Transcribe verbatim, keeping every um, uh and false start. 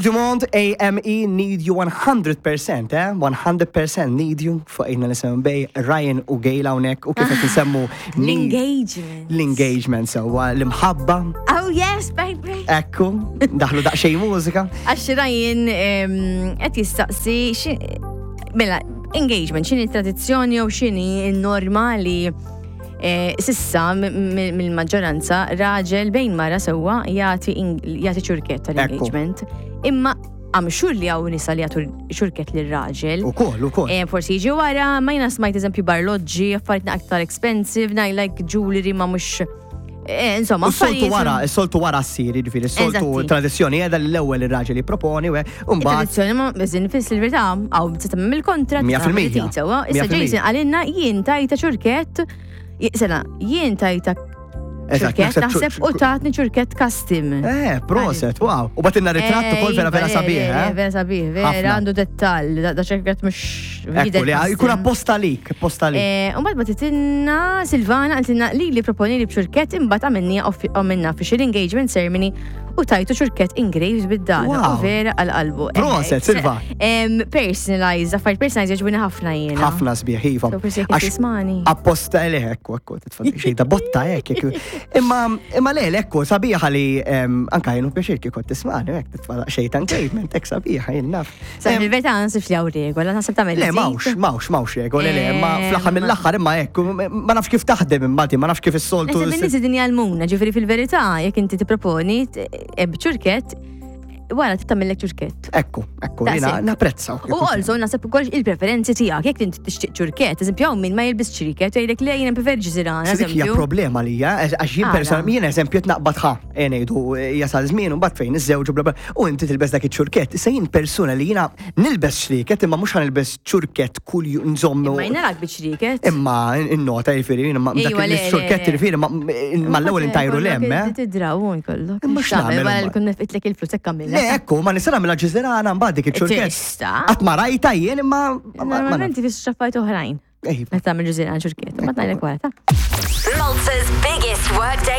Dumont A M E, Need You one hundred percent, eh? one hundred percent need you fuq ejna nisem bej Ryan u Gail hawnhekk u kif qed nsemmu need- L-engagement. L-engagement sewwa, l-imħabba. Oh yes, baby. Ekku, daħlu daqsxejn mużika. Għax Ryan em, qed jistaqsi xi- mela, engagement, x'inhi tradizzjoni jew x'inhi n-normali eh, s'issa m- m- mill-maġġoranza raġel bejn mara sewwa jagħti ing- jagħti ċurkett tal-engagement. Imma I'm sure li hawn nisa li jagħtu ċurkett lir-raġel. U koll, u koll. Eh, forsi jiġi wara, ma jiena smajt eżempju barloġġi, affarijiet aktar expensive, naj like jewelry ma mhux eh, insomma, U s-soltu affarijiet- wara, s-soltu wara ssir, ġifieri, s-soltu Eżatti. tradizzjoni għedha l-ewwel ir-raġel jipproponi, u mbagħad Tradizzjoni ma biżin fis il-verità, għaw tista' mill-kontra. Mija fil-mija. Issa Mija fil-mija. Jason għalinna jien tajta ċurkett, sena, jien tajta Eżatt, ċurkett, naħseb naħseb u tatni ċurkett custom. Eh, proset, wow. U bagħtilna ritratt ukoll vera vera Eh, sabiħ, iva, eh? Vera sabiħ, vera Ħafna. għandu dettal, da da ċurkett mhux Ekku, li jkun apposta lik, apposta lik. Umbagħad bagħtitilna Silvana, qaltilna li li proponi li bċurkett, imbagħad għamilni għamilna official engagement ceremony u tajtu ċurkett engraved bid-data Wow. u vera għal-qalbu. Proset, Silva. Personalized, affarijiet personalized jogħġbuni ħafna jiena. Ħafna sbieħ, iva. So forsi jekk Għax tismani. apposta li ekku, ekku, titfadli xejda botta hekk, ekku. Imma, imma le, ekku, sabiħa li em, anka jenu pjaċir kieku tismani, hekk titfa' xejta engagement, hekk sabiħa, jien naf. Sa Em, fil-verità naħseb li hawn regola, naħseb tagħmel Le, żid. mawx, mawx, mawx regoli, le, imma Em, fl-aħħar mill-aħħar imma ekku, ma nafx kif taħdem imma di, ma nafx kif is-soltu. Naħseb in-nies din jgħallmuna, ġifieri fil-verità, jekk inti tipproponi t- eh, b'ċurkett, wara tagħmellek ċurkett. Ekku, ekku, jiena Daqshekk. napprezza. U also naħseb ukoll il-preferenzi tiegħek, jekk inti tixtieq ċurkett, eżempju hawn min ma jilbis ċriket, jgħidlek le, jiena prefer ġiżirana, Dik hija eżempju. problema li hija, għax jien Għala? personalment, jien eżempju naqbad ħa, e ngħidu jasal żmien u mbagħad fejn iżżewġu bla bla, u inti tilbes dak iċ-ċurkett. Issa jien persuna li jiena nilbes ċriket imma mhux ħanilbes ċurkett kull jum nżommu. Imma jiena rak biċ-ċriket. Imma in-nota jiġifieri jiena ma dak Ejwa, le, le, il-ċurkett le. jiġifieri ma mal-ewwel intajru lem, eh? Tidraw kollok. Imma x'nagħmel Wara li imbagħad? kun nefqitlek il-flus hekk għamilha. Le, ekku, ma nista' nagħmilha ġiżirana mbagħad dik iċ-ċurkett. Tista'. Qatt ma rajta jien imma ma- ma- ma Normalment fis xaffajt oħrajn. Ej, Meta tagħmel ġiżirana ċurkett, ma tgħidlek wara ta'. Malta's biggest workday.